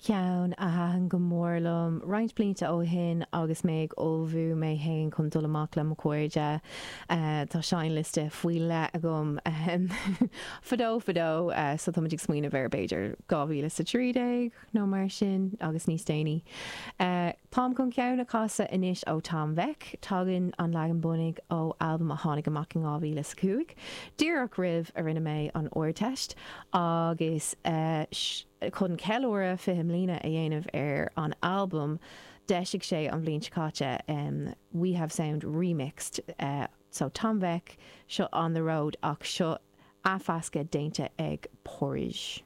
Ceann a thaitin go mór liom roinnt blianta ó shin agus mé ag ullmhú mé fhéin chun dul amach le mo chairde. Tá seinnliosta faoi leith agam fadó fadó so táimid ag smaoineamh ar b'fhéidir 2013 nó mar sin agus níos déanaí. Táim chun ceann a chasadh anois ó Tom Vek. Tagann an leagan bunaidh ó albam a tháinig amach in 2005, díreach roimh a rinne mé an Ardteist, agus chun ceiliúradh 20 mbliana a dhéanamh ar an albam, d'eisigh sé an bhliain seo caite We Have Sound Remixed. So Tom Vek, seo On The Road ach seo athmheascadh déanta ag Porridge.